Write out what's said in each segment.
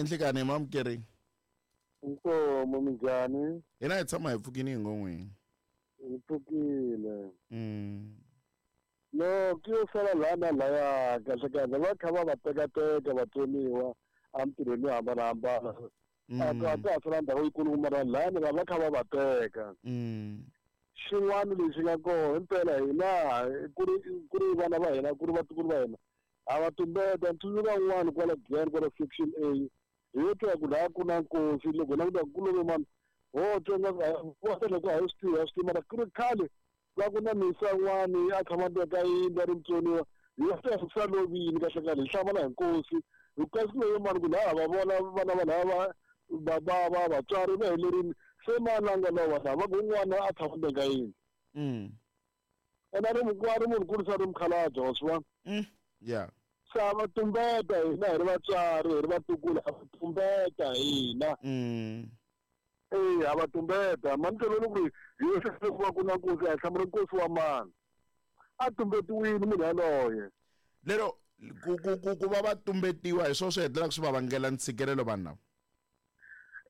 Enhlekani mamukeri. Inkomo minjhani? Hina hi tshama hi pfukini hi ngon'wini. Hi pfukile. No ku yo sala laha na laya kahle kahle va kha va va tekateka vatsoniwa emitirhweni yo hambanahambana. A ta ha sala ndhawu yikulu mara lahani va va kha va va teka. Xin'wana lexi nga kona himpela hina ku ri vana va hina, ku ri vatukulu va hina, ha va tumbeta. Ntsundzuka un'wana kwala Giyani, kwala section A, hi yo twa ku laha ku na nkosi. Loko hi languta ku love mani, ho twa nga loko a hi swi tivi, a swi tivi, mara ku ri khale va ku na misa un'wani a tshama ndzeni ka yindlu a ri mutsoniwa. Hi yo twa ku sa lovini kahle kahle, hi hlamala hi nkosi hi kasi ku love mani, ku laha va vona vana va lava va va va vatswari va helerini se mani a nga lova laha, va ku un'wana a tshama ndzeni ka yindlu. Ene a ri a ri munhu kurisa, ri mukhalabye, wa swi vona. Se a va tumbeta hina hi ri vatswari, hi ri vatukulu, a va tumbeta hina. E a va tumbeta mani tolweni ku ri hi yo ku va ku na nkosi, a hi hlamula nkosi wa mani, a tumbetiwile munhu yaloye. Lero ku va va tumbetiwa hi swona swi hetelelaka swi va vangela ntshikelelo vanhu lava.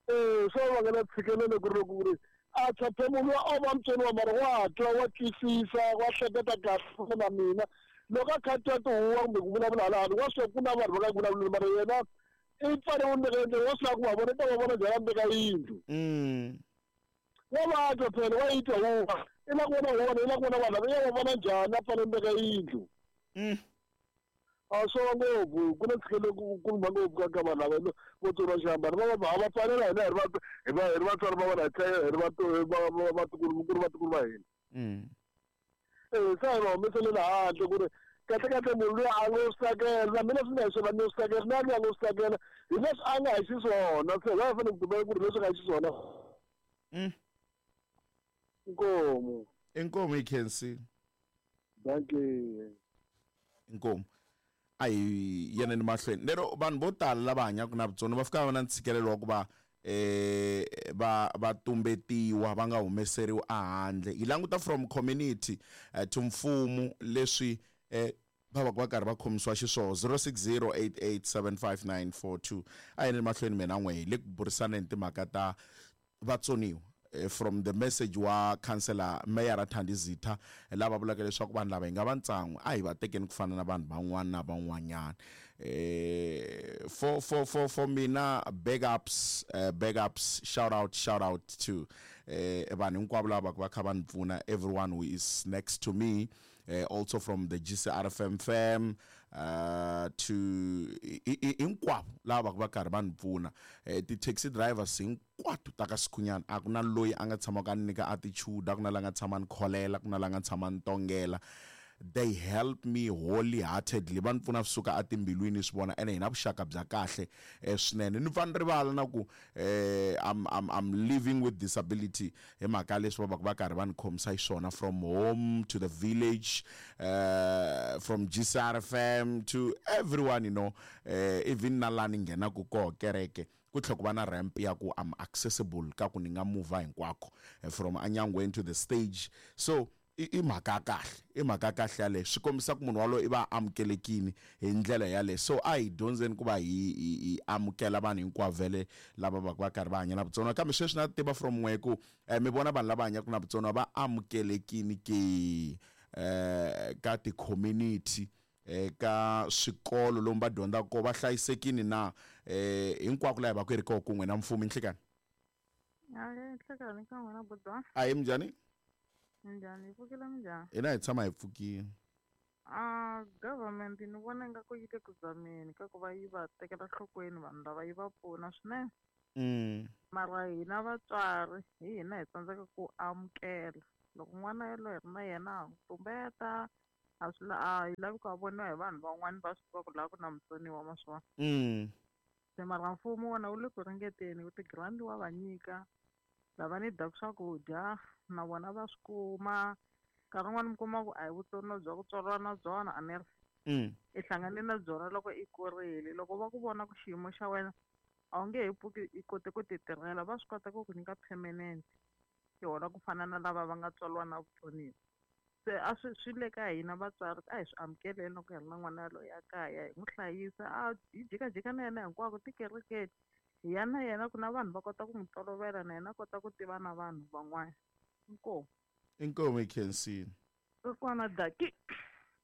E swa vangela ntshikelelo ku ri loko ku ri a tshaphe munhu o va mutsoniwa, mara wa twa, wa twisisa, wa hleketa kahle na mina. Loko a kha twa tihuwa kumbe ku vulavula hala handle, wa swi ku na vanhu va nga vulavuli, mara yena i pfale ndzeka yindlu, wa swi lava ku va vona, ta va vona njhani ndzeka yindlu? Wa va twa phela, wa yi twa huwa, i la ku vona huwa, i la ku vona vanhu lava, i ya va vona njhani a pfale ndzeka yindlu? A swo va ngopfu ku na ntshikelelo ku kuluma ngopfu ka vanhu lava vo tsoniwa xihambano. Va va pfalela hina hi ri hi ri vatswari va vona, hi tlhela hi ri vatukulu, ku ri vatukulu va hina. E se hi va humeselela handle ku ri kahle kahle munhu luya a ngo swi tsakela, na mina swi nga hi swona, ni swi tsakela, na luya a ngo swi tsakela hi leswi a nga hi xiswona, se va fanele ku tumbela ku ri leswi nga hi xiswona. Inkomo. Inkomo, hi khensile. Dankie. Inkomu. A hi yeneni mahlweni. Lero vanhu vo tala lava hanyaka na vutsoniwa va fika va na ntshikelelo wa ku va va tumbetiwa, va nga humeseriwi ehandle. Hi languta from community to mfumo, leswi va va va karhi va khomisiwa xiswona. 0608875942. A yeneni mahlweni mina n'we hi le ku burisaneni timhaka ta vatsoniwa, from the message wa councillor Mayor Thandi Zitha, lava vulaka leswaku vanhu lava hi nga va ntsan'we, a hi va tekeni ku fana na vanhu van'wana na van'wanyana. For mina, backups, backups, shout out, shout out to vanhu hinkwavo lava va kha va ni pfuna, everyone who is next to me, also from the GCRFM fam, to hinkwavo lava va karhi va ni pfuna, ti-taxi drivers hinkwato ta ka Sikhunyana. A ku na loyi a nga tshamaka a ni nyika attitude, a ku na la nga tshama ni kholela, ku na la nga tshama ni tongela. They help me wholeheartedly, va ni pfuna swi suka etimbilwini swi vona, ene hi na vuxaka bya kahle swinene. Ni pfa ni rivala na ku I'm living with disability hi mhaka leswi va va va karhi va ni khomisa xiswona, from home to the village, from GCRFM to everyone, even na laha ni nghenaku koho kereke, ku tlhela ku va na ramp ya ku I'm accessible, ka ku ni nga muvha hinkwako, from anyangweni to the stage. So i mhaka ya kahle, i mhaka ya kahle yaleyo, swi kombisa ku munhu walowo i va amukelekini hi ndlela yaleyo. So a hi dyondzeni ku va hi amukela vanhu hinkwavo vhele lava va va karhi va hanya na vutsoniwa. Kambe sweswi na tiva from n'we ku mi vona vanhu lava hanyaka na vutsoniwa va amukelekini ke ka ti-community, eka swikolo lomu va dyondzaka kona, va hlayisekini na hinkwako laha hi va ku hi ri koho kun'we na mfumo? Inhlekani. Hayi, nhlekani ka n'wina, buda. A hi, minjhani? Minjhani, hi pfukile, minjhani? Hina hi tshama hi pfukile. A government ni vona ingaku yi le ku zameni ka ku va yi va tekela nhlokweni vanhu lava, yi va pfuna swinene. Mara hina vatswari hi hina hi tsandzeka ku amukela loko n'wana yaloye hi ri na yena, ha n'wi tumbeta, a swi a hi lavi ku a voniwa hi vanhu van'wani va swi tiva ku laha ku na mutsoniwa, ma swi vona. Se mara mfumo wona wu le ku ringeteni ku ti-grant wa va nyika lava ni daku swakudya, na vona va swi kuma. Nkarhi wun'wani mi kuma ku a hi vutsoniwa bya ku tswariwa na byona, a ni ri i hlangane na byona loko i kurile. Loko va ku vona ku xiyimo xa wena a wu nge he pfuki i kote ku ti tirhela, va swi kota ku ku nyika permanent i hola ku fana na lava va nga tswariwa na vutsoniwa. Se a swi swi le ka hina vatswari, a hi swi amukeleni loko hi ri na n'wana yaloye a kaya, hi n'wi hlayisa, a hi jikajika na yena hinkwako tikerekeni, hi ya na yena ku na vanhu va kota ku n'wi tolovela, na yena a kota ku tiva na vanhu van'wana. Inkomu. Inkomu, hi khensile. Kokwana Daki.